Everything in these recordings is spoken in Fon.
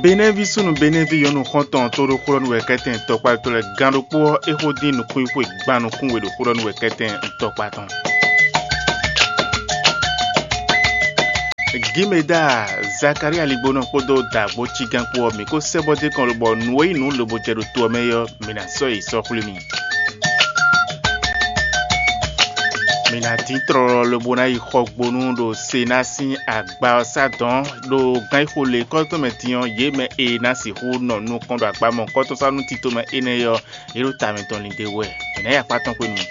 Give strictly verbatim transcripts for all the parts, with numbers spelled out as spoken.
Benɛ́ví súnnu Benɛ́ví nyɔ̌nu xɔ́ntɔn tó ɖó xó ɖɔ nú wɛkɛ́tɛn tɔkpá tɔn lɛ́ɛ gán ɖokpó ɔ́, é xó dín nukúnxwé gban nukúnwe ɖo xó ɖɔ nú wɛkɛ́tɛn tɔkpá tɔn. Gimeda, Zakalía ligbónɔ kpódó dǎgbó cígán kpó ɔ́, mǐ ko sɛ́ bɔ dó kɔn lobɔ nǔ e nyí nǔ lobo jɛ ɖo to ɔ́ mɛ é ɔ́, mǐ ná sɔ́ yi sɔ́ xwlé mi. Mǐ ná dín tlɔlɔ lobo ná yi xɔgbónú ɖo Sená sín agba ɔ́ sá dɔ̌n ɖo gán e xo lě kɔ́tɔn mɛ din ɔ́, yě mɛ e ná sixú nɔ nukɔn ɖo agba mɔ̌hunkɔtɔn sá nú tito mɛ énɛ́ é ɔ́, yě ɖo ta mǐtɔn lin d'é wú wɛ. Mǐ ná yi akpá tɔn xwenu.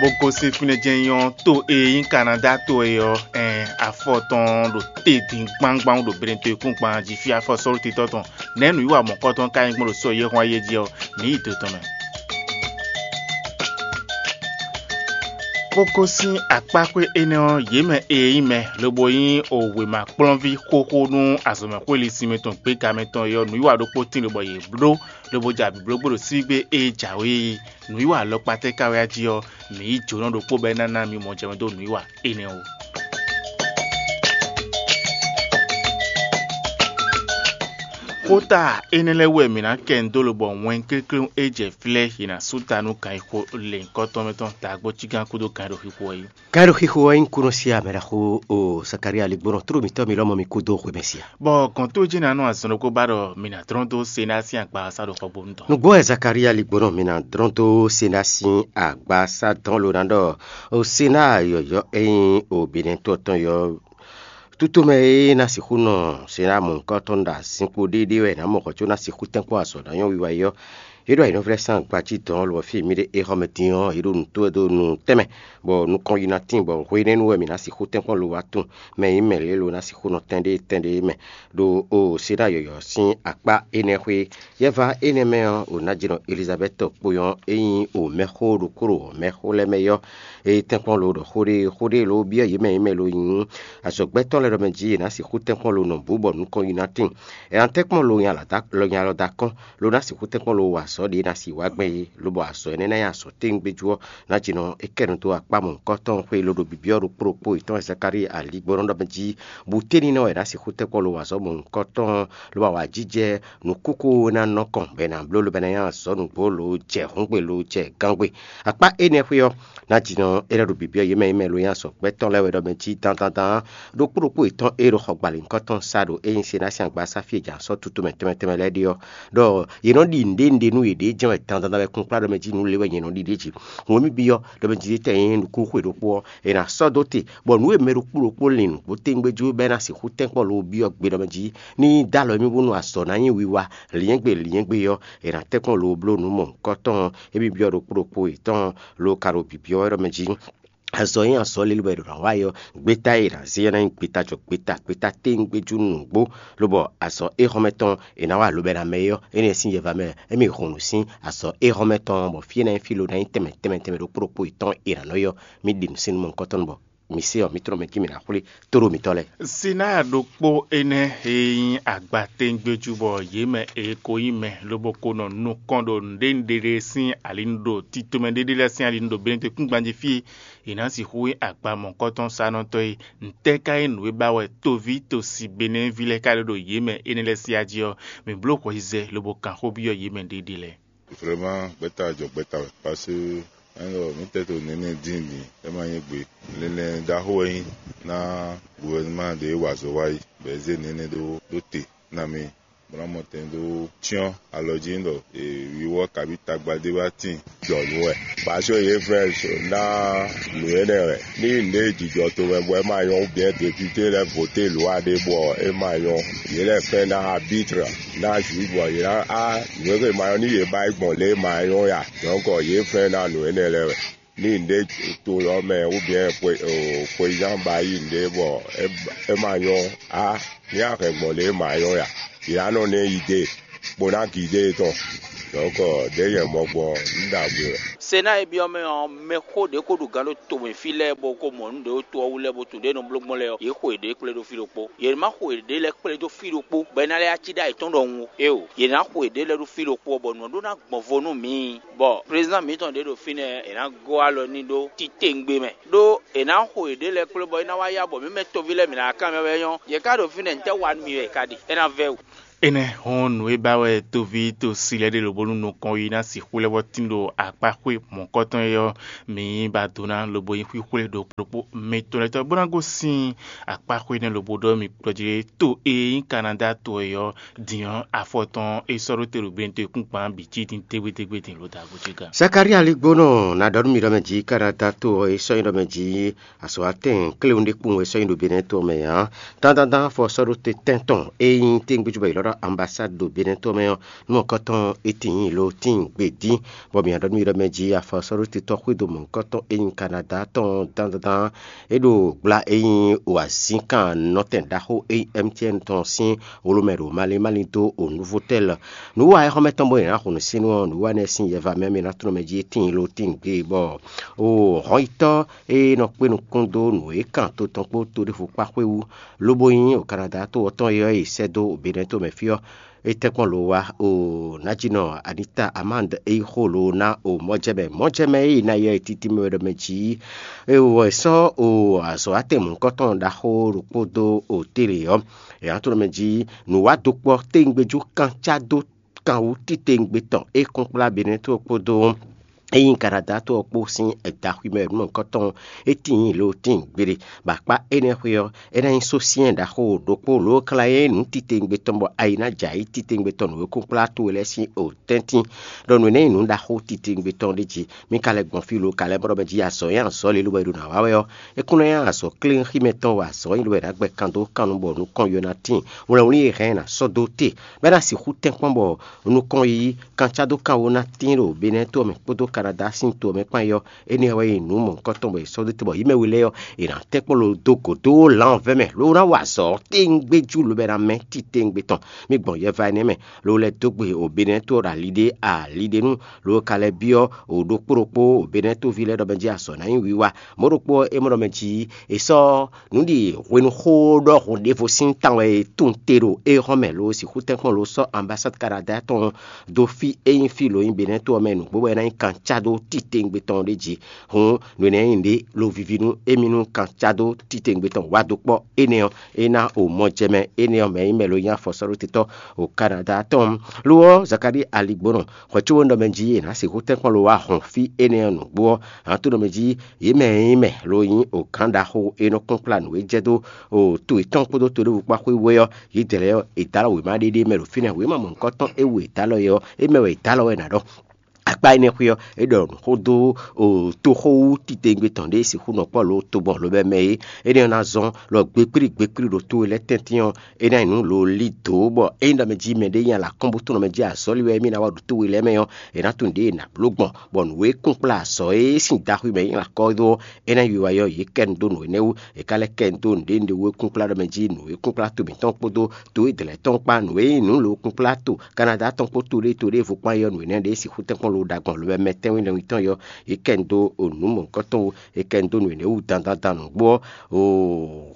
Bó gosín fínɛ́ jɛ́n nyɔ́ to e nyí Kanadá to é ɔ́, ɛn afɔ tɔn ɖo te din gbangban ɖo Benetɔn kúngban jí fí afɔ sɔ́lútitɔ́ tɔn. Nɛ̌ nǔwiwa mɔ̌kɔtɔn ka nyí gbɔn ɖo sɔ yɛhwan yé jí ɔ́, mǐ yi do tɔn mɛ. Bó gosín akpáxwé énɛ́ ɔ́, yě mɛ e nyí mɛ lobo nyí wěma kplɔ́nví xóxó nú azɔ̌mɛxwéli sinmɛ tɔn gbéga mɛ tɔn é ɔ́, nǔwiwa ɖokpó tíin lobɔ yě bló lobo ja bǐblógbó ɖo sígbé e jǎwe é. Nǔwiwa alɔkpa tɛ́ ka wɛ á jí ɔ́, mǐ yí jǒnɔ ɖokpó bɔ é ná ná mi mɔ jɛmɛ dó nǔwiwa énɛ́ ó. Xóta énɛ́ lɛ́ɛ wú wɛ mǐ ná kɛ nǔ dó lobɔ wɛn klékléwún e jɛ flɛ́ è nǎ sú ta nú kan e xo lěhunkɔtɔn mɛ tɔn dǎgbó cígán kúdó kan e ɖo xixo ɔ́ é. Ka ɖo xixo ɔ́ nyí kúnɔ sí amɛ ɖaxó o Zakalía ligbɔnɔ tló mǐtɔn mi lɔmɔ mi kúdó xwemɛ sia. Bɔ gɔ̌n tó jí ná nɔ azɔn ɖokpó ba ɖɔ mǐ ná dlɔ́n dó Sená sín agba sá ɖo xɔgbónu tɔn. Nǔgbó wɛ Zakalía ligbɔnɔ mi ná dlɔ́n dó Sená sín agba sá dɔn lo ná ɖɔ o Sená yɔ̌yɔ́ e nyí o Benɛtɔ́ tɔn yɔ́. Tutomɛ e ná sixú nɔ Sená mɔ̌hunkɔtɔn ɖo azinkpo ɖéɖé wɛ è nǎ mɔ hɔn có ná sixú tɛ́nkpɔ́n azɔ̌ ná nyɔ́ wiwa é ɔ́, é ɖo ayǐnɔ́vlɛ́ sín agba jí dɔ̌n lɔ fí e mǐ ɖe é xɔ mɛ din ɔ́, é ɖo nǔ tó wɛ dó nu tɛnmɛ, bɔ nukɔn yi ná tíin, bɔ hwenɛ́nu wɛ mǐ ná sixú tɛ́nkpɔ́n lo wá tunwun mɛ e nyí mɛ lě lo ná sixú nɔ tɛn ɖé tɛn ɖé mɛ, ɖo o Sená yɔ̌yɔ́ sín akpá énɛ́ xwé. Yɛva énɛ́ mɛ ɔ́, o nǎjínɔ Elizabɛ́ti kpo ɔ́, é nyí o mɛxó ɖokpó ɖo mɛxó lɛ́ɛ mɛ yɔ́, é tɛ́nkpɔ́n lo ɖɔ xó ɖé xó ɖé lo byɔ́ yě mɛ yě mɛ lo nyí azɔ̌gbɛ́tɔ́ lɛ́ɛ ɖɔ mɛ jí è nǎ sixú tɛ́nkpɔ́n lo nɔ bǔ bɔ nukɔn yi ná tíin. È nǎ tɛ́nkpɔ́n lo nya lɔ da kɔ́n lo ná sixú tɛ́nkpɔ́n lo wa azɔ̌ ɖě ná si wá gbɛn é, lobɔ azɔ̌ énɛ́ ná nyí azɔ̌ téwúngbéjú ɔ́, nǎjínɔ é kɛ nu dó akpá mɔ̌hunkɔtɔn xwé lo ɖo byɔ̌byɔ́ ɖokpó ɖokpó yětɔn Zakalíi aligbɔnɔ ɖɔ mɛ jí bú téninɔ wɛ è nǎ sixú tɛ́nkpɔ́n lo wa azɔ̌ mɔ̌hunkɔtɔn, lobo awǎjijɛ nǔkúkú ná nɔ kɔn bɔ è nǎ bló lobo ná nyí azɔ̌ nǔgbó lo jɛ hǔngbe lo jɛ gángbe. Akpá énɛ́ xwé ɔ́, ná jǐnɔ é lɛ́ ɖo bǐbyɔ́ yě mɛ e mɛ lo nyí azɔ̌gbɛ́ tɔn lɛ́ɛ wɛ ɖɔ mɛ jí dandan dan ɖokpó ɖokpó yětɔn e ɖo xɔ gbali nukɔntɔn sa ɖo é nyí Senási agba sá fí e jǎ sɔ́ tutu mɛ tɛnmɛ tɛnmɛ lɛ́ɛ ɖe ɔ́, ɖɔ yě nɔ ɖi nǔɖé nǔɖé nú yěɖée jɛ́n wɛ dandan dan wɛ kunkplá ɖɔ mɛ jí nǔ lě wɛ nyɛ nɔ ɖi ɖě jí. Hǔn e mì byɔ́ ɖɔ mɛ jí tɛ nyí nǔkúnxwe ɖokpó ɔ́, è nǎ sɔ́ dó te, bɔ nǔ e mɛ ɖokpó ɖokpó lin nǔgbó téngbé jú bɔ é ná sixú tɛ́nkpɔ́n lo byɔ́ gbe ɖɔ mɛ jí ní dó alɔ émí bónú azɔ̌ ná nyí wiwa, lǐnyɛ́gbe lǐnyɛ́gbe ɔ́, è nǎ tɛ́nkpɔ́n lo bló nǔ mɔ̌hunkɔtɔn émí byɔ́ ɖokpó ɖokpó yětɔn lo ka ɖo bǐbyɔ́ wɛ ɖɔ mɛ jí. Azɔ̌ e nyí azɔ̌ lilí bɔ è ɖǒ ná wa é ɔ́, gbeta e è nǎ zé ɔ́ ná nyí gbeta jɔ gbeta, gbeta téngbéjú nǔgbó, lobɔ azɔ̌ éhɔ́mɛ tɔn è nǎ wa lobɛ́ ná mɛ é ɔ́, énɛ́ sín yɛva mɛ émí hun nǔ sín azɔ̌ éhɔ́mɛ tɔn, bɔ fí e ná nyí fí lo ná nyí tɛnmɛ tɛnmɛ tɛnmɛ ɖokpó ɖokpó yětɔn è nǎ nɔ ɔ́, mì ɖi nǔ sín nú mɔ̌hunkɔtɔn bɔ mǐ se ɔ́, mǐ tlɔ́n mɛ jí mǐ ná xwlé tóɖó mǐtɔn lɛ́ɛ. Sinaa ɖokpó énɛ́ e nyí agbatɛ́ngbéjú bɔ yě mɛ e ko nyí mɛ lobo ko nɔ nukɔn ɖo nǔɖénúɖé ɖé sín alinu ɖo titomɛ ɖéɖé lɛ́ɛ sín alinu ɖo Benɛtɔ́kúngban jí fí e è nǎ sixú nyí agba mɔ̌hunkɔtɔn sanɔtɔ́ é. Ntɛ́ ka nyí nǔ e ba wɛ toví tosi Benɛ́ví lɛ́ɛ ka ɖe ɖo yě mɛ énɛ́ lɛ́ɛ síá jí ɔ́? Mǐ bló hwɛyízɛ lobo kan xó byɔ́ yě mɛ ɖéɖé lɛ́ɛ. Vraiment, gbɛ́ta jɔ gbɛ́ta wɛ, parce que ényí ɖɔ mǐ tɛ́ to nɛnɛ dín din, é ma nyí gbe. Linlɛn ɖaxó wɛ nyí ná gouvernement ɖě wa azɔ̌ wá yi, bɔ è zé nɛnɛ ɖó ɖó te ná mì, bó ná mɔ tɛn dó cyɔ́n alɔ jí ɖɔ è wíwɔ kabí tagba ɖé wá tíin jɔ nǔ wɛ. Parce que yě fɛ́ ná nǔ énɛ́ wɛ. Ní nǔɖé jijɔ tomɛ bɔ é ma nyɔ́, ou bien député lɛ́ɛ voté lwa ɖé bɔ é ma nyɔ́, yě lɛ́ fɛ́ ná arbitre ná juge bɔ yě ná á nǔ e ma nyɔ́ ní yě ba yi gbɔn lě e ma nyɔ́ ya. Donc yě fɛ́ ná nǔ énɛ́ lɛ́ɛ wɛ. Ní nǔɖé to ɔ́ mɛ ou bien xweyán ba yí nǔɖé bɔ é ma nyɔ́ á, ní a hɛn gbɔn lě e ma nyɔ́ ya. Yě ná nɔ ná yi dé bó ná gǐ dé tɔn. Dɔ̌nkɔ ɖěe nyɛ mɔ gbɔn ɔ́, un ɖo agbe wɛ. Se ná e byɔ́ mɛ ɔ́, mɛxó ɖě ko ɖo gǎn ɖo tomɛ fí lɛ́ɛ bó ko mɔ nǔ ɖě ɖo to ɔ́ wú lɛ́ɛ bó tunwun ɖě nɔ bló gbɔn lɛ́ɛ ɔ́, yě xo yěɖée kplé ɖó fí ɖokpó. Yě ma xo yěɖée lɛ́ɛ kplé dó fí ɖokpó bɔ é ná lɛ́ cí ɖó ayǐ tɔn ɖɔhun ó. Éeǒ, yě ná xo yěɖée lɛ́ɛ ɖó fí ɖokpó ɔ́, bɔ nǔ ɔ́ ɖó ná gbɔn vo nú mǐ. Bɔ prézidán mǐtɔn ɖě ɖo fínɛ́, è nǎ gɔ́ alɔ n'i ɖó titewungbe mɛ, ɖó è nǎ xo yěɖée lɛ́ɛ kplé bɔ é ná wá yá bɔ mǐ mɛ toví lɛ́ɛ mǐ ná wá kanbyɔ́ wɛ nyɔ́. Yě ká ɖo fínɛ́, ntɛ́ wa nú mì wɛ è ka ɖe? É ná vɛ́ wǔ. Énɛ́ hɔn nǔ e ba wɛ toví to si lɛ́ɛ ɖe lǒbónú nukɔn yi ná sixú lɛ́ vɔ́ tín ɖo akpáxwé mɔ̌kɔtɔn é ɔ́, mǐ ba do ná lobo nyí xwíxwlé ɖokpó ɖokpó mitɔn lɛ́ɛ tɔn bó ná gosín akpáxwé énɛ́ lobo ɖɔ mì kplɔ́ jí ɖé to e nyí Kanada to é ɔ́ din ɔ́, afɔ tɔn é sɔ́ ɖó te ɖo gbɛ́nte kúngban bǐ cí din dégbédégbé din lǒ dǎgbó ce gán. Zakalía Ligbónɔ ná ɖɔ nú mi ɖɔ mɛ jí Kanada to ɔ́ é sɔ́ nyí ɖɔ mɛ jí azɔ̌watɛn kléwún ɖé kpowun wɛ sɔ́ nyi ɖo Benɛ́ɛ to ɔ́ mɛ ǎ. Dandandan afɔ sɔ́ ɖó te tɛ́n tɔn e nyí téngbéjú bɔ è ylɔ́ ɖɔ ambasád ɖo Benɛ́ɛ to ɔ́ mɛ ɔ́, nú mɔ̌kɔtɔn é tíin lo tíin gbe dín, bɔ mǐ ɖɔ nú mi ɖɔ mɛ jí afɔ sɔ́ ɖó te tɔ́ xwedó mɔ̌kɔtɔn e nyí Kanada tɔn dandandan é ɖo gbla e nyí wǎzínkan nɔtɛn ɖaxó e nyí M T N tɔn sín wló mɛ ɖo malín malín dó o Nuvotɛ́l. Nǔ wa e xɔ́mɛ tɔn bɔ è nǎ hun nǔsínnú ɔ́, nǔ wa énɛ́ sín yɛva mɛ mɛ ná tlɔ́n mɛ jí tíin lo tíin gbe bɔ o hɔnyitɔ́ e nɔ kpé nukún dó nǔ e kan to tɔn kpó to ɖěvo kpá xwé wú, lobo nyí o Kanada to ɔ́ tɔn e ɔ́ e sɛ́ dó Benɛ́ to mɛ fí ɔ́, é tɛ́nkpɔ́n lo wá o Najinɔ Anita Amand e yi xo lo ná o mɔjɛmɛ. Mɔjɛmɛ e yi ná yɔ e titi mɛ wɛ ɖɔ mɛ jí e wɔ è sɔ́ o azɔ̌ atɛn mɔ̌hunkɔtɔn ɖaxó ɖokpó dó o télé ɔ́. È nǎ tlɔ́n mɛ jí nǔwádokpɔ́ téwungbéjú kan cá dó kan wú titewungbe tɔn e kún kplá Benɛ́ to ɔ́ kpódó e nyí Kanada to ɔ́ kpó sín daxwi mɛ nǔmɔ̌kɔtɔn e tíin lo tíin gbeɖé, bɔ akpá énɛ́ xwé ɔ́, é ná nyí sósyɛ́n ɖaxó ɖokpó lǒ kla e nǔ titewungbe tɔn bɔ ayi ná jɛ ayǐ titewungbe tɔn nǔ e kún kplá towe lɛ́ɛ sín o tɛ́ntin, ɖɔ nǔ énɛ́ nyí nǔ ɖaxó titewungbe tɔn ɖé jí. Mi ka lɛ́ gbɔn fí lo ka lɛ́ mɔ ɖɔ mɛ jí azɔ̌ nyí azɔ̌ lilo wɛ è ɖo nǎ wa wɛ ɔ́, é kún ná nyí azɔ̌ klín xí mɛ tɔn wɛ azɔ̌ nyí lo wɛ è nǎ gbɛ kan dó kan nu bɔ nukɔn yɔ ná tíin. Wlɛnwlí e hɛn ná sɔ́ dó te, bɔ é ná sixú tɛ́nkpɔ́n bɔ nukɔn yíyí kancá dó kan wó ná tíin ɖo Benɛ́ to ɔ́ mɛ kpódó Kanada sín to ɔ́ mɛ kpán é ɔ́, énɛ́ wɛ nyí nǔ mɔ̌hunkɔtɔn bɔ è sɔ́ dó te bɔ yí mɛ we lɛ́ɛ ɔ́, è nǎ tɛ́nkpɔ́n lo dó gǒ dó lanvɛ́ mɛ, ló ná wa azɔ̌ téŋgbéjú lobɛ ná mɛ titewungbe tɔn. Mi gbɔn yɛva énɛ́ mɛ, ló lɛ́ dó gbe o Benɛ́ to ɔ́ ɖo ali ɖé ali ɖé nu, ló ka lɛ́ byɔ́ o ɖokpó ɖokpó o Benɛ́ toví lɛ́ɛ ɖɔ mɛ jí azɔ̌ ná nyí wiwa. Mɔ̌ ɖokpó ɔ́, é mɔ ɖɔ mɛ jí è sɔ́ nǔ ɖi hwenu xó ɖɔhun ɖěvo sín tan wɛ è tunwun te ɖo éhɔ́n mɛ lo sixú tɛ́nkpɔ́n lo sɔ́ ambasád Kanada tɔn dó fí e nyí fí lo nyí Benɛ́ to ɔ́ mɛ nǔgbó bɔ é ná nyí kan cá dó titewungbe tɔn ɖé jí. Hǔn nǔ énɛ́ nyí ɖě lo vivi nú émí nú kan cá dó titewungbe tɔn wá dó kpɔ́ énɛ́ ɔ́, é ná o mɔjɛmɛ énɛ́ ɔ́ mɛ nyí mɛ lo nyí afɔsɔ́ɖótetɔ́ o Kanada tɔn. Lo ɔ́, Zakalíi aligbónɔ hwɛ̌ có nɔ mɛ jí è nǎ sixú tɛ́nkpɔ́n lo wá hɔn fí énɛ́ ɔ́ nǔgbó ɔ́, hǎn tó nɔ mɛ jí yě mɛ e nyí mɛ lo nyí o gǎn ɖaxó e nɔ kplɔ́n kplá nǔ e jɛ dó o to yětɔn kpódó to ɖěvo kpá xwé wú é ɔ́, yědɛɛ lɛ́ɛ ɔ́, è dǒ alɔ wěma ɖé ɖ'é mɛ ɖo fínɛ́. Wěma mɔ̌hunkɔtɔn e wu è dǒ alɔ é ɔ́, é mɛ wɛ è dǒ alɔ wɛ ná ɖɔ. Akpá énɛ́ xwé ɔ́, é ɖɔ xó dó toxó wú titewungbe tɔn ɖě sixú nɔ kpɔ́ lǒ togbɔn lobɛ mɛ é. Énɛ́ ɔ́ ná zɔ́n lɔ gbekplí gbekplí ɖo towe lɛ́ɛ tɛ́ntin ɔ́, é ná nyí nǔ lo lí dǒ bɔ ényí ɖɔ mɛ jí mɛɖé nyi alǎkɔ́nbútɔ́ mɛ jí azɔ̌li wɛ émí ná wa ɖo towe lɛ́ɛ mɛ ɔ́, è nǎ tunwun ɖěe è nǎ bló gbɔn, bɔ nǔ e kún kplá azɔ̌ e sín daxwi mɛ é nyí akɔ́ dó ɔ́, é ná yi wiwa ɔ́, yě kɛ nu dó nǔ énɛ́ wú. È ka lɛ́ kɛ nu dó nǔɖé nǔɖé wú e kún kplá ɖɔ mɛ jí nǔ e kún kplá to mǐtɔn kpódó to e dlɛ̌ tɔn kpá nǔ e nyí nǔ lo kún kplá to Kanada tɔn kpó to ɖé to ɖěvo kpán é ɔ́, nǔ énɛ́ ɖě sixú tɛ́nkpɔ́n lo ɖo agbɔ̌n lobɛ mɛ tɛ́nwínlɛnwítɔn é ɔ́, yě kɛ nu dó o nǔ mɔ̌hunkɔtɔn wú. È kɛ nu dó nǔ énɛ́ wú dandandan nǔgbó ɔ́, o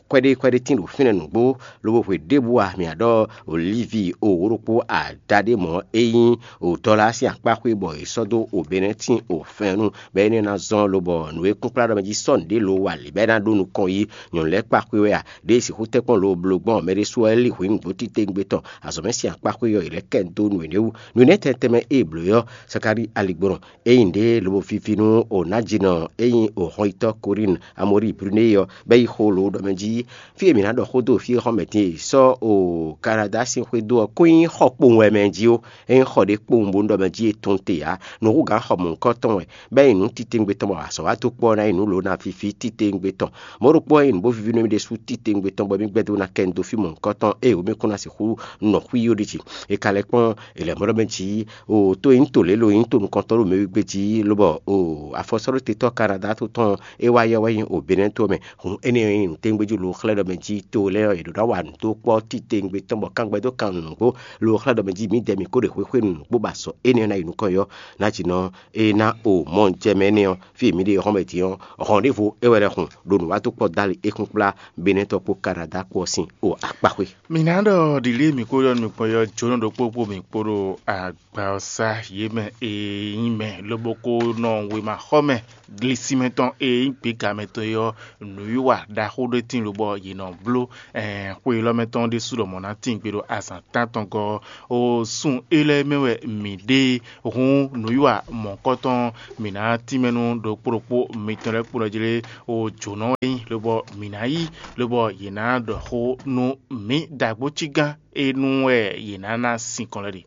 kpɛɖé kpɛɖé tín ɖo fínɛ́ nǔgbó, lobo hwe ɖěbǔ a mǐ a ɖɔ Olívi o wǒ ɖokpó ada ɖé mɔ̌ e nyí o dɔ́lá sín akpá xwé bɔ è sɔ́ dó o Benɛ́tin o fɛ́nnu, bɔ énɛ́ ná zɔ́n lobɔ nǔ e kún kplá ɖɔ mɛ jí sɔ́ nǔɖé lo wa lǐ bɔ é ná ɖó nukɔn yí nyɔ̌nu lɛ́ɛ kpa xwé wɛ a? Ɖěe sixú tɛ́nkpɔ́n lo bló gbɔn mɛɖésú wɛ lí hwǐ nǔgbó titewungbe tɔn azɔ̌ mɛ sín akpá xwé ɔ́, è lɛ́ kɛ dó nǔ énɛ́ wú. Nǔ énɛ́ tɛnmɛ tɛnmɛ e è blǒ é ɔ́, Sakalíi aligbɔnɔ e nyí ɖě lobo vivi nú Onájinɔ e nyí Oxɔnyitɔ́ Korín Amoríi Brunéi ɔ́, bɔ é yi xo lǒ ɖɔ mɛ jí fí e mǐ ná ɖɔ xó dó fí e xɔ mɛ din e sɔ́ o Kanada sín xwé dó ɔ́ kún nyí xɔ kpowun wɛ mɛ jí ó. É nyí xɔ ɖé kpowun bónú ɖɔ mɛ jí è tunwun te ǎ. Nǔhúgǎn xɔ mɔ̌hunkɔtɔn wɛ, bɔ é nyí nǔ titewungbe tɔn bɔ azɔ̌ wa dó kpɔ́ ná nyí nǔ lǒ ná fífí titewungbe tɔn. Mɔ̌ ɖokpó ɔ́, é nyí nǔ bó víví nú émí ɖésú titewungbe tɔn bɔ émí gbɛ́ dó ná kɛ nu dó fí mɔ̌hunkɔtɔn ée wǒ mɛ kún ná sixú nɔ xwíyó ɖi jí. È ka lɛ́ kpɔ́n è lɛ̌ mɔ ɖɔ mɛ jí o tó e nyí to lě lo nyí to nukɔntɔn ɖo mɛwígbé jí, lobɔ o afɔsɔ́ɖótetɔ́ Kanada to tɔn é wá yɔ wɛ nyi o Benɛ́ to mɛ. Hǔn énɛ́ ɔ́ nyí nǔtɛ́ngbéjú lo xlɛ́ ɖɔ mɛ jí to lɛ́ɛ ɔ́, yě ɖo ná wa nǔ dó kpɔ́ titewungbe tɔn bɔ kangbɛ dó kan nǔgbó lo xlɛ́ ɖɔ mɛ jí mǐdɛɛ mǐ ko ɖe xwéxwenu nǔgbó ba sɔ énɛ́ ɔ́ ná yi nukɔn yɔ. Ná jí nɔ é ná o mɔ jɛ mɛ énɛ́ ɔ́, fí e mǐ ɖe hɔn mɛ din ɔ́, hɔn ɖěvo é wɛ lɛ́ hun ɖo nǔwató kpɔ́ dali é kún kplá Benɛ́ tɔn kpó Kanada kpó ɔ́ sín o akpáxwé. Mǐ ná ɖɔ ɖǐlí e mǐ ko ɖɔ nukɔn yɔ jónɔ ɖokpó kpó mǐ kpó ɖo agba ɔ́ sá yě mɛ e nyí mɛ lobo ko nɔ wěma xɔ mɛ. Glisimɛ tɔn e nyí gběgamɛ tɔn é ɔ́, nǔwiwa ɖaxó ɖé tíin lobɔ yě nɔ bló. Xwe élɔ́ mɛ tɔn ɖésú ɖɔ mɔ̌ ná tíin gbe ɖo azǎn tántɔn gɔ́ ɔ́. O sun élɔ́ mɛ wɛ mǐ ɖe. Hǔn nǔwiwa mɔ̌kɔtɔn mǐ ná tínmɛ nú ɖokpó ɖokpó mitɔn lɛ́ɛ kpó nɔ jlé o jǒnɔ wɛ nyí lobɔ mǐ ná yí lobɔ yě ná ɖɔ xó nú mǐ ɖagbo cí gán e nú wɛ yě ná ná sinkɔn lɛ́ ɖe.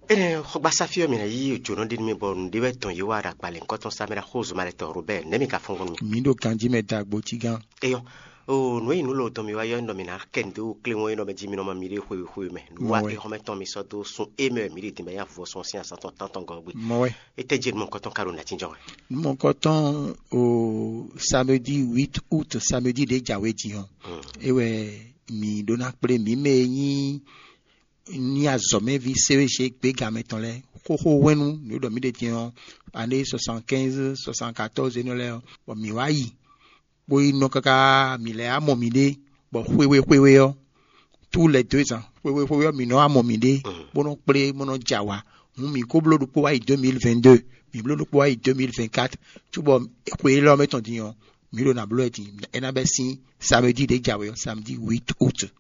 Énɛ́ xɔgbasá fí ɔ́, mǐ ná yí jǒnɔ ɖé nú mì bɔ nǔɖé wɛ dɔn yě wá ɖo agbalěnkɔtɔn Samuɛ́li xózumálɛtɔn Robɛ́ɛ, nɛ̌ mi ka fɔ́n gbɔn nú mì? Mǐ ɖo ganjí mɛ ɖagbo cí gán. Eyɔ́, oo nǔ e nyí nǔ lɔwɔ̌ tɔn mì wá yɔ nɔ mì ná kɛ nǔ dó kléwɔ́n e nɔ mɛ jí mi nɔ ma mi ɖe xwewě xwewě mɛ. Nǔ wa Mɔwɛ. Exɔmɛ tɔn mi sɔ́ dó sun e mɛ wɛ mǐ ɖi din bɔ é nyí avuvɔsɔ́ sín azǎn tɔn tántɔn gɔ́ gbé. Mɔwɛ. Étɛ́ jí nǔ mɔ̌kɔtɔn ka ɖo nǎ jínjɔ́n wɛ? Nǔ mɔ̌kɔtɔn o samedi huit août, samedi ɖě jǎwe din ɔ́, é wɛ mǐ ɖó ná kplé mǐ mɛ e nyí ní azɔ̌mɛví séwéṣe gběgamɛ tɔn lɛ́ɛ xóxó hwɛ́nnu nǔ e ɖɔ mǐ ɖe din ɔ́, ané soixante-quinze, soixante-quatorze énɛ́ lɛ́ɛ ɔ́, bɔ mǐ wá yi, bó yi nɔ káká mǐ lɛ́ wá mɔ mǐɖée, bɔ xwewé xwewé ɔ́, tout les deux ans, xwewé xwewé ɔ́, mǐ nɔ wá mɔ mǐɖée, bó nɔ kplé, bó nɔ jɛ awǎ. Hǔn mǐ ko bló ɖokpó wá yi deux mille vingt-deux, mǐ bló ɖokpó wá yi deux mille vingt-quatre, cóbɔ xwe élɔ́ mɛ tɔn din ɔ́, mǐ ɖo nǎ bló wɛ din, é ná bɛ́ sín samedi ɖě jǎwe ɔ́, samedi huit août.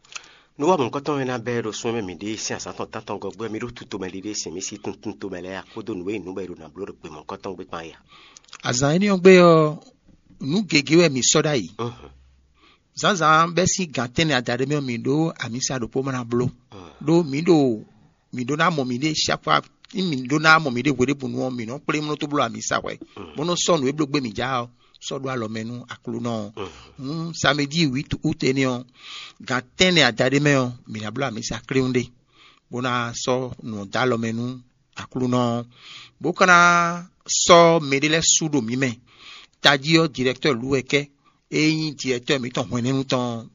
Nú wá mɔ̌kɔtɔn e ná bɛ́ ɖo sún e mɛ mǐ ɖe sín azǎn tɔn tántɔn gɔ́ gbé ɔ́, mí ɖó tutomɛ ɖiɖe sin mí sí tuntuntomɛ lɛ́ɛ, akpódó nǔ e nyí nǔ bɔ è ɖo nǎ bló ɖo gbe mɔ̌kɔtɔn gbé kpán é a? Azǎn énɛ́ ɔ́ gbe ɔ́, nǔ gěgé wɛ mǐ sɔ́ ɖ'ayǐ. Zǎnzǎn bɛ́ sín gǎn tɛ́nnɛ adaɖé mɛ ɔ́, mǐ ɖó amǐsa ɖokpó ma ná bló, ɖó mǐ ɖo mǐ ɖó ná mɔ mǐɖée chaque fois, ní mǐ ɖó ná mɔ mǐɖée hweɖěbǔnu ɔ́, mǐ nɔ kplé mlɔ́ tó bló amǐsa hwɛ̌, bó nɔ́ sɔ́ nǔ e bló gbé mǐ já ɔ́ sɔ́ ɖó alɔ mɛ nú Aklúnɔ ɔ́. Hǔn samedi huit août énɛ́ ɔ́, gan tɛ́nnɛ adaɖé mɛ ɔ́, mǐ ná bló amǐsa kléwún ɖé, bó ná sɔ́ nǔ ɔ́ dó alɔ mɛ nú Aklúnɔ ɔ́, bó ka ná sɔ́ mɛɖé lɛ́ɛ sú ɖo mǐ mɛ. Tají ɔ́, directeur Luwɛkɛ́, e nyí directeur mǐtɔn hwɛ̌nɛ́nu tɔn ɔ́,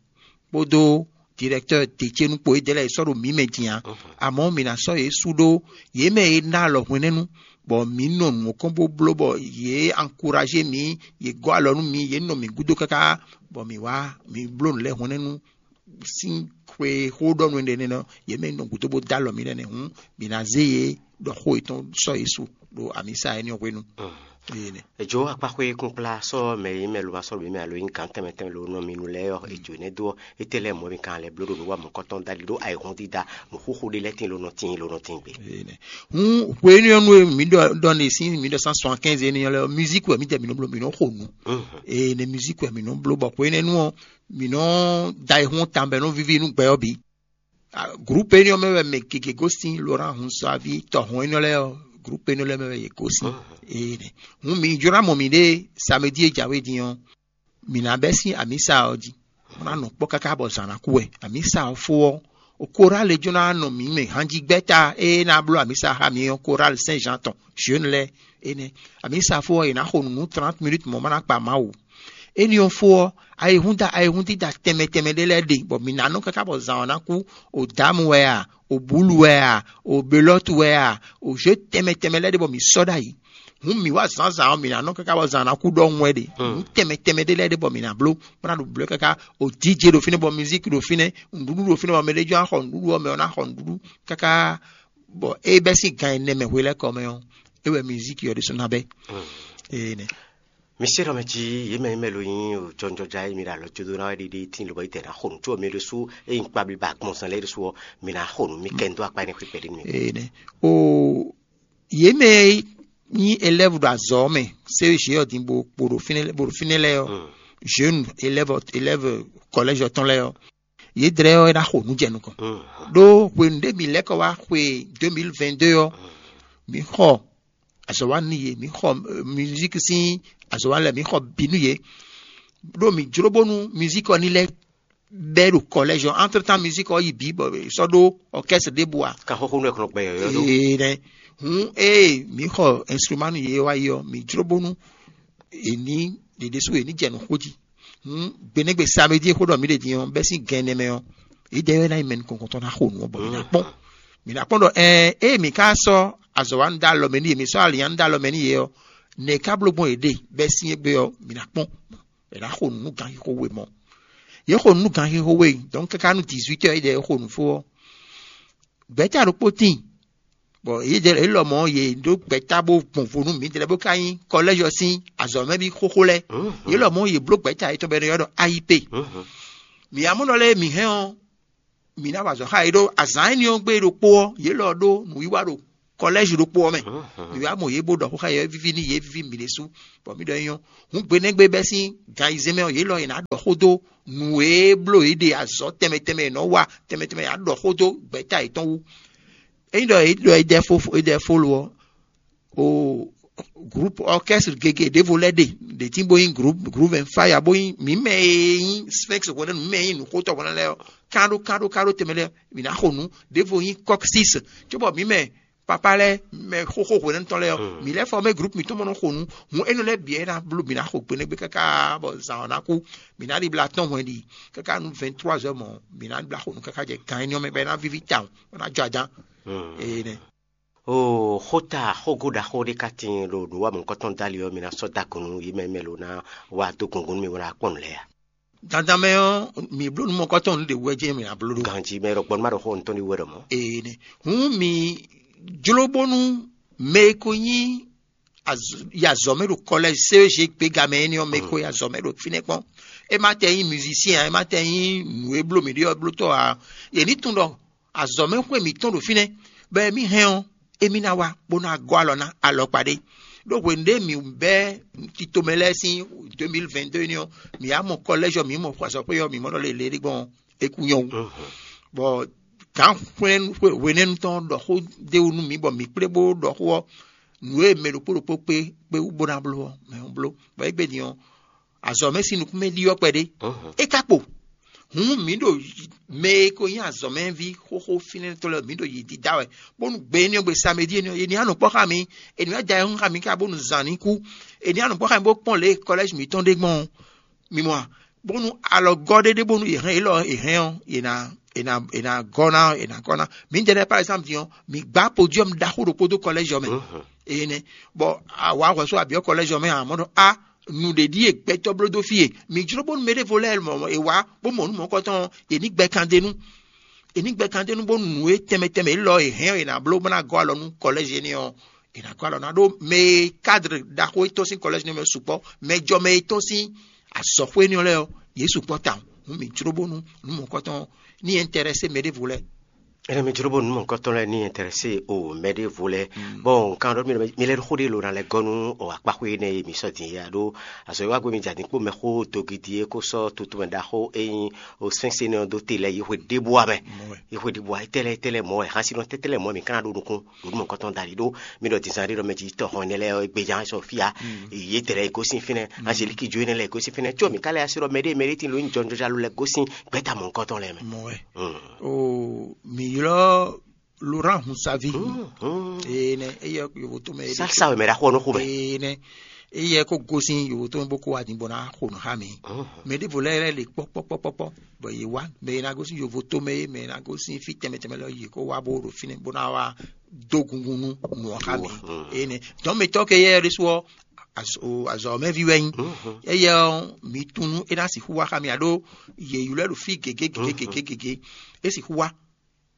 kpódó directeur Decénu kpó, yědɛɛ lɛ́ɛ è sɔ́ ɖo mǐ mɛ din ǎ. Amɔ̌, mǐ ná sɔ́ yě sú ɖó yě mɛ e ná alɔ hwɛ̌nɛ́nu, bɔ mǐ nɔ nǔ kɔn bó bló bɔ yě ankuraje mǐ, yě gɔ́ alɔ nú mǐ, yě nɔ mǐ gúdo káká, bɔ mǐ wá mǐ bló nǔ lɛ́ɛ hwɛ̌nɛ́nu sín xwe xó ɖɔ nú énɛ́ nɔ, yě mɛ nɔ gǔdo bó dó alɔ mǐ nɛnɛ hǔn, mǐ ná zé yě ɖɔ xó yětɔn sɔ́ yě su ɖo amǐsa énɛ́ hwenu. Énɛ́. Èjǒ akpáxwé kúnkplá sɔ́ mɛ e nyí mɛ lobasɔ́ ɖo mǐ mɛ alo e nyí gǎn tɛnmɛ tɛnmɛ lo nɔ mì nu lɛ́ɛ ɔ́, èjǒ énɛ́ dó ɔ́, étɛ́ lɛ́ɛ mɔ̌ mi ka lɛ́ bló ɖo nǔ wa mɔ̌kɔtɔn dali ɖó ayǐhɔ́n dídá nǔxóxó ɖé lɛ́ɛ tíin lo nɔ tíin lo nɔ tíin gbe. Énɛ́. Hǔn hwenu ɔ́ nú e mǐ ɖɔ ɖɔ ne sín mǐ ɖɔ cent soixante-quinze énɛ́ lɛ́ɛ ɔ́, musique wɛ mǐ jɛ mǐ nɔ bló, mǐ nɔ xo nǔ. Énɛ́, musique wɛ mǐ nɔ bló bɔ hwenɛ́nu ɔ́, mǐ nɔ da ayǐhɔ́n tawun bɔ é nɔ víví nú gbɛ ɔ́ bǐ. Groupe énɛ́ ɔ́ mɛ wɛ mɛ gěgé gosín, Laurent Hunsuavi, tɔhɔn énɛ́ lɛ́ɛ ɔ́, groupe énɛ́ lɛ́ɛ mɛ wɛ yě gosín. Énɛ́. Hǔn mǐ jló ná mɔ mǐɖée samedi e jǎwe din ɔ́, mǐ ná bɛ́ sín amǐsa ɔ́ jí, bó ná nɔ kpɔ́ káká bɔ zǎn ná kú wɛ. Amǐsa ɔ́ fó ɔ́, o korale jló ná nɔ mǐ mɛ hanjigbɛ́ta e ná bló amǐsa xá mǐ ɔ́, korale Saint Jean tɔn, jeune lɛ́ɛ énɛ́. Amǐsa fó ɔ́, è nǎ xo nǔ nú trente minutes mɔ̌ ma ná kpa Mawu. Énɛ́ ɔ́ fó ɔ́, ayihúnda ayihúndída tɛnmɛ tɛnmɛ ɖé lɛ́ɛ ɖe, bɔ mǐ ná nɔ káká bɔ zǎn ɔ́ ná kú. O dǎmu wɛ a, o bǔlu wɛ a, o belɔ́tu wɛ a, o jǒ tɛnmɛ tɛnmɛ lɛ́ɛ ɖe bɔ mǐ sɔ́ ɖ'ayǐ. Hǔn mǐ wá zǎnzǎn ɔ́, mǐ ná nɔ káká bɔ zǎn ná kú ɖɔhun wɛ ɖe. Nǔ tɛnmɛ tɛnmɛ ɖé lɛ́ɛ ɖe bɔ mǐ ná bló, bó ná ɖo blǒ káká. O díje ɖo fínɛ́ bɔ mizíki ɖo fínɛ́, nǔɖuɖu ɖo fínɛ́ bɔ mɛ ɖé jɔ́n ná xɔ nǔɖuɖu ɔ́, mɛ ɔ́ ná xɔ nǔɖuɖu káká. Bɔ é bɛ́ sín gan ɛnɛ mɛ hwelɛ́kɔ mɛ ɔ́, é wɛ mizíki ɔ́ ɖésú ná bɛ́. Énɛ́. Mi se ɖɔ mɛ jí yě mɛ yě mɛ lo nyí jɔnjɔja e mi ɖo alɔ jó dó ná wɛ ɖiɖi tín lobɔ yi tɛ ná xo nǔ, có mi ɖésú e nyí kpablíba agbɔnsɛn lɛ́ɛ ɖésú ɔ́, mi ná xo nǔ, mi kɛ n dó akpa énɛ́ xwé kpɛɖé nú mi. Énɛ́. O yě mɛ e nyí élève ɖo azɔ̌ ɔ́ mɛ, C E G ɔ́ din bó kpo ɖo fínɛ́ bó ɖo fínɛ́ lɛ́ɛ ɔ́, jeune élève élève collège ɔ́ tɔn lɛ́ɛ ɔ́, yě dlɛ́ ɔ́ é ná xo nǔ jɛ nukɔn. Ɖó hwenu ɖé mi lɛ́ kɔ wá xwe deux mille vingt-deux ɔ́, mi xɔ azɔ̌ wa nú yě, mǐ xɔ musique sín azɔ̌ wa lɛ́ɛ, mǐ xɔ bǐ nú yě, ɖó mǐ jló bónú musique ɔ́ ní lɛ́ bɛ́ ɖo kɔlɛ́zɔ, entre temps musique ɔ́ yi bǐ bɔ è sɔ́ ɖó orchestre ɖěbǔ ǎ. Kan xóxó nú ɛ kɔn gbɛ yɔ̌yɔ́ ɖó. Ee nɛ. Hǔn ée mǐ xɔ instrument nú yě wá yi ɔ́, mǐ jló bónú è ní ɖě ɖésú è ní jɛ nǔ xó jí. Hǔn gbenɛ́gbe samedi e xó ɖɔ mǐ ɖe din ɔ́, bɛ́ sín gɛn nɛmɛ ɔ́, yědɛɛ wɛ ná nyí mɛ nukɔn tɔn ná xo nǔ ɔ́ bɔ mǐ ná kpɔ́n. Mǐ ná kpɔ́n ɖɔ ɛɛ ée mǐ ka sɔ́ azɔ̌ wa nú dó alɔ mɛ nú yě, mǐ sɔ́ alǐnnya nú dó alɔ mɛ nú yě ɔ́, nɛ̌ ká bló gbɔn yě ɖe bɛ́ sín égbé ɔ́, mǐ ná kpɔ́n. È nǎ xo nǔ nú ganxixo we mɔ̌. Yě xo nǔ nú ganxixo we, dɔ̌n káká nú dix-huit heures é ɖɛ é xo nǔ fó ɔ́, gbɛ̌ta ɖokpó tíin, bɔ yě lɔ mɔ̌ yě ɖó gbɛ̌ta bó gbɔn vo nú mǐdɛɛ bó ka nyí kɔlɛ́zɔ sín azɔ̌mɛví xóxó lɛ́ɛ. Yě lɔ mɔ̌ yě bló gbɛ̌ta yětɔn bɔ è nɔ ylɔ́ ɖɔ I P. Mǐ amɔ̌ nɔ lɛ́ɛ mǐ hɛn ɔ́, mǐ ná wa azɔ̌ xá yě ɖó azǎn énɛ́ ɔ́ gbe ɖokpó ɔ́, yě lɔ ɖó nǔwiwa ɖo kɔlɛ́zi ɖokpó ɔ́ mɛ. Mǐ wá mɔ yě bó ɖɔ xó xá yě, é víví nú yě, é víví mǐ ɖésú, bɔ mǐ ɖɔ é nyɔ́. Hǔn gbe nɛ́ gbe bɛ́ sín gan ayizɛ́n mɛ ɔ́, yě lɔ è nǎ ɖɔ xó dó nǔ e bló yě ɖe azɔ̌ tɛnmɛ tɛnmɛ è nɔ wa tɛnmɛ tɛnmɛ è nǎ ɖɔ xó dó gbɛ̌ta yětɔn wú. Ényí ɖɔ è ɖɔ è ɖɛ fó è ɖɛ fó lo ɔ́, o groupe orchestre gege ɖěvo lɛ́ɛ ɖe ɖě tín bó nyí groupe groupe and fire bó nyí mǐ mɛ e nyí sphinx hwɛnɛ́nu mǐ mɛ e nyí nǔxótɔ́ hwɛnɛ́nu lɛ́ɛ ɔ́, káɖó káɖó káɖó tɛnmɛ lɛ́ɛ mǐ ná xo nǔ. Ɖěvo nyí kɔ́ksís, cóbɔ mǐ mɛ papa lɛ́ɛ mɛ xóxó hwɛnɛ́nu tɔn lɛ́ɛ ɔ́, mǐ lɛ́ fɔ mɛ groupe mǐtɔn mɔ nɔ xo nǔ. Hǔn énɛ́ lɛ́ɛ bǐ wɛ é ná bló mǐ ná xo gbeɖégbé káká bɔ zǎn ɔ́ ná kú. Mǐ ná ɖi bla tɔn hwɛn ɖi káká nú vingt trois heures mɔ̌, mǐ ná ɖi bla xo nǔ káká jɛ gan énɛ́ ɔ́ mɛ bɔ é ná víví tawun, bɔ é ná jɔ aján. Énɛ́. O xóta xógó ɖaxó ɖé ka tíin ɖo nǔwamɔ̌kɔtɔn dali ɔ́, mi ná sɔ́ dó agun nú yě mɛ mɛ lo ná wá dó gǔngún nú mi bó ná kpɔ́n nǔ lɛ́ɛ a? Dandan mɛ ɔ́, mǐ bló nú mɔ̌kɔtɔn nǔ ɖě wú wɛ jɛ́n mǐ ná bló ɖó. Ganjí mɛ ɖɔ gbɔn nú má ɖɔ xó ɔ́, nǔ tɔn ɖé wú wɛ ɖɔ mɔ̌. Ee nɛ. Hǔn mǐ jló bónú mɛ e ko nyí az- yi azɔ̌ mɛ ɖo kɔlɛ́zi C E G gbéga mɛ énɛ́ ɔ́, mɛ e ko yi azɔ̌ mɛ ɖo fínɛ́ kpɔ́n. É má tɛ nyí musicien ǎ, é má tɛ nyí nǔ e bló mǐ ɖe ɔ́ blótɔ́ ǎ. Yě ní tunwun ɖɔ azɔ̌ mɛ xwé mǐtɔn ɖo fínɛ́, bɔ emi hɛn ɔ́, émí ná wá bó ná gɔ́ alɔ ná alɔkpa ɖé. Ɖó hwenu ɖé mǐ bɛ́ titomɛ lɛ́ɛ sín deux mille vingt-deux énɛ́ ɔ́, mǐ wá mɔ kɔlɛ́zi ɔ́, mǐ mɔ xwazɔ́xwé ɔ́, mǐ mɔ ɖɔ lě lě ɖé gbɔn ɔ́, é kú nyɔ́ wú. Bɔ gǎn hwenɛ́nu tɔn ɖɔ xó d'é wú nú mǐ bɔ mǐ kplé bó ɖɔ xó ɔ́, nǔ e mɛ ɖokpó ɖokpó kpé kpé wú bó ná bló ɔ́, mɛ ɔ́ bló. Bɔ égbé din ɔ́, azɔ̌ mɛ sín nukún mɛ ɖyɔ́ kpɛɖé. É ka kpo. Hǔn mǐ ɖo mɛ e ko nyí azɔ̌mɛví xóxó fínɛ́tɔ́ lɛ́ɛ, mǐ ɖo yě dídá wɛ, bónú gbe énɛ́ ɔ́ gbe samedi énɛ́ ɔ́, è nǐ anɔ kpɔ́ xá mǐ, è nǐ wá da ayihún xá mǐ ká bónú zǎn ní kú, è nǐ anɔ kpɔ́ xá mǐ bó kpɔ́n lě e kɔlɛ́zi mǐtɔn ɖe gbɔn ɔ́, mi mɔ a? Bónú alɔgɔ́ ɖé ɖé bónú è hɛn yě lɔ è hɛn ɔ́, è nǎ è nǎ è nǎ gɔ́ ná è nǎ gɔ́ ná. Mǐdɛɛ lɛ́ɛ par exemple din ɔ́, mǐ gbá podiɔ́mu ɖaxó ɖokpó dó kɔlɛ́zi ɔ́ mɛ. Énɛ́. Bɔ a wǎ hwɛ̌ sú abyɔ́ kɔlɛ́zi ɔ́ mɛ ǎ, mɔ̌ ɖɔ a nǔɖé ɖíe gbɛtɔ́ bló dó fí e. Mǐ jló bónú mɛɖěvo lɛ́ɛ mɔ è wǎ bó mɔ nǔ mɔ̌kɔtɔn ɔ́, è ní gbɛ kan d'é nú. È ní gbɛ kan d'é nú bónú nǔ e tɛnmɛ tɛnmɛ élɔ́ è hɛn ɔ́, è nǎ bló bó ná gɔ́ alɔ nú kɔlɛ́zi énɛ́ ɔ́, è nǎ gɔ́ alɔ ná ɖó mɛ e kádr ɖaxó e tɔ́n sín kɔlɛ́zi énɛ́ mɛ sukpɔ́, mɛjɔmɛ e tɔ́n sín azɔ̌xwé énɛ́ ɔ́ lɛ́ɛ ɔ́, yě sukpɔ́ tawun. Hǔn mǐ jló bónú nǔ mɔ̌kɔtɔn ɔ́ ní ɛ́ntɛ́rɛ́sé mɛɖěvo lɛ́ɛ. Énɛ́ mi jló bónú nǔ mɔ̌kɔtɔn lɛ́ɛ ní ɛntɛ́rɛsé o mɛɖěvo lɛ́ɛ. Bɔn nkan ɖɔ mi lɛ́ xó ɖé lo ná lɛ́ gɔ́ nú o akpaxwé énɛ́ e mi sɔ́ din é a ɖó azɔ̌ e wá gbé mi jɛ adǐn kpó mɛxó dogidi e ko sɔ́ tutu mɛ ɖaxó e nyí o sɛ́nsɛn nɔ dó te lɛ́ɛ yi xwe ɖěbúa mɛ. Yi xwe ɖěbúa étɛ́ lɛ́ɛ étɛ́ lɛ́ɛ mɔ̌ wɛ xásí nɔ tɛ́tɛ́ lɛ́ɛ mɔ̌ wɛ mi ka ná ɖó nukún ɖo nú mɔ̌kɔtɔn dali ɖó mi ɖɔ dǐnzán ɖé ɖɔ mɛ jí tɔ́ xɔn énɛ́ lɛ́ɛ é gbéján sɔ fíá. Yě tɛ lɛ́ɛ gosín fínɛ́, Angélique jo énɛ́ lɛ́ɛ gosín fínɛ́ có mi ka lɛ́ así ɖɔ mɛɖé mɛɖé tín lo nyí jɔnjɔnjalo lɛ́ɛ gosín gbɛ́ta mɔ̌kɔtɔn lɛ́ɛ mɛ. Mɔ̌ wɛ. O mǐ ylɔ́ Laurent Hunsavi. Ee nɛ, eyɛ yovo tɔn mɛ. Salsa wɛ mɛ ɖaxó ɔ́ nɔ xo mɛ. Ee nɛ, eyɛ ko gosín yovo tɔn mɛ bó ko wá din bó ná xo nǔ xá mǐ. Mɛ ɖěvo lɛ́ɛ lɛ́ le kpɔ́kpɔ́kpɔ́kpɔ́, bɔ yě wá mɛ e ná gosín yovo tɔn mɛ é, mɛ e ná gosín fí tɛnmɛ tɛnmɛ lɛ́ɛ yě ko wá bó ɖo fínɛ́ bó ná wá dó gungun nú nǔ ɔ́ xá mǐ. Ee nɛ, dɔ̌n mitɔ́ ke yɛ ɖésú ɔ́, azɔ̌ mɛví wɛ nyí. Eyɛ ɔ́, mǐ tunú é ná sixú wá xá mì aɖó yě ylɔ́ ɛ ɖo fí gěgé gěgé gěgé gěgé. É sixú wá,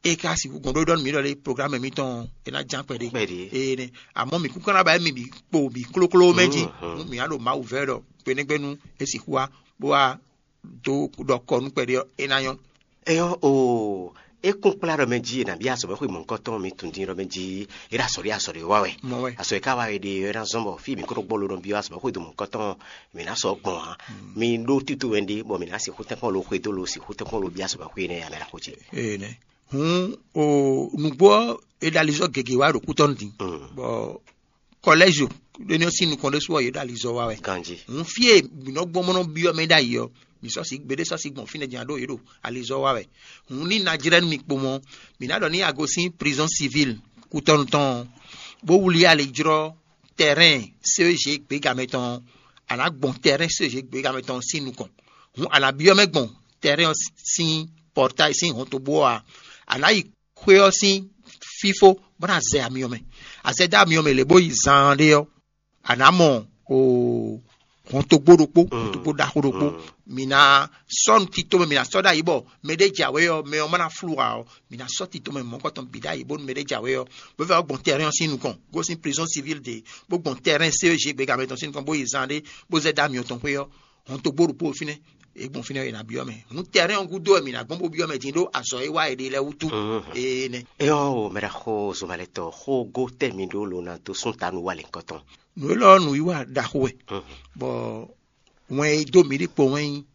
é ka sixú gɔn ɖó ɖɔ nú mǐ ɖɔ lé programme mǐtɔn ɔ́, é ná ján kpɛɖé. Kpɛɖé. Ee nɛ, amɔ̌ mǐ kún ka ná ba émí bǐ kpo bǐ klókló mɛ jí. Nú mǐ á ɖo Mawu vɛ́ ɖɔ gbeɖégbénu é sixú wá bó wá dó ɖɔ kɔ nú kpɛɖé ɔ́, é ná nyɔ́. Eyɔ́ o, é kún kplá ɖɔ mɛ jí è nǎ byɔ́ azɔ̌mɛxwé mɔ̌hunkɔtɔn mi tunwun din ɖɔ mɛ jí é ɖo azɔ̌ ɖé azɔ̌ ɖé wa wɛ. Mɔ wɛ. Azɔ̌ e ka wa è ɖe ɔ́ é ná zɔ́n bɔ fí mǐ kó nɔ gbɔ lo nɔ byɔ́ azɔ̌mɛxwé do mɔ̌hunkɔtɔn mǐ ná sɔ́ gbɔn ǎ. Mi ɖó tito wɛ ɖé bɔ mǐ ná sixú tɛ́nkpɔ́n lo xwedó lo sixú tɛ́nkpɔ́n lo byɔ́ azɔ̌mɛxwé énɛ́ ǎ mɛ ɖaxó ce. Ee nɛ. Hǔn o nǔgbó ɔ́ è ɖo alizɔ́ gěgé wá ɖo kútɔ́ nú din. Bɔ kɔlɛ́zi ɖé ní ɔ́ sín nukɔn ɖésú ɔ́ yě ɖo alizɔ́ wa wɛ. Ganjí. Hǔn fí e mǐ nɔ gbɔn bó nɔ byɔ́ mɛ ɖ'ayǐ ɔ́, Mi sɔ́ sí gbeɖé sɔ́ sí gbɔn fínɛ́ din a ɖó yě ɖo alizɔ́ wa wɛ. Hǔn ní ná jlɛ́ nú mi kpo mɔ́, mǐ ná ɖɔ ní a gosín prizɔ́n sivil kútɔ́nu tɔn, bó wlí ali jlɔ́ tɛrɛ́n C E G gběgamɛ tɔn, a nǎ gbɔn tɛrɛ́n C E G gběgamɛ tɔn sín nukɔn. Hǔn a nǎ byɔ́ mɛ gbɔn tɛrɛ́n ɔ́ sín pɔrtáyi sín hɔntogbó ɔ́ a? A nǎ yi xwé ɔ́ sín fífó bó ná zɛ amyɔ mɛ. A zɛ dó amyɔ mɛ lě bó yi zaan ɖé ɔ́, a nǎ mɔ o hɔntogbó ɖokpó, hɔntogbó ɖaxó ɖokpó. Mi ná sɔ́ nu tito mɛ, mi ná sɔ́ ɖ'ayǐ bɔ mɛ ɖé jǎwe ɔ́, mɛ ɔ́ má ná flú ǎ ɔ́, mi ná sɔ́ tito mɛ mɔ̌kɔtɔn bǐ ɖ'ayǐ bónú mɛ ɖé jǎwe ɔ́, bó vɛ́ ɔ́ gbɔn tɛrɛ́n ɔ́ sín nukɔn, gosín prizɔ́n sivil ɖě, bó gbɔn tɛrɛ́n C E G gběgamɛ tɔn sín nukɔn, bó yi zan ɖé, bó zɛ dó amyɔ tɔn xwé ɔ́, hɔntogbó ɖokpó ɔ́ fínɛ́. È gbɔn fínɛ́ è nǎ byɔ́ mɛ. Hǔn tɛrɛ́n ɔ́ gúdo wɛ mǐ ná gbɔn bó byɔ́ mɛ din ɖó azɔ̌ e wa è ɖe lɛ́ɛ wútu. Ee nɛ́. Éyɔ́ o mɛ ɖaxó Zomalɛtɔ, xógó tɛ́ mi ɖó lo ná dó sún ta nú wa lěhunkɔtɔn. Nǔ élɔ́ ɔ́, nǔwiwa ɖaxó wɛ, bɔ wɛn e dó mǐ ɖi kpo wɛn nyí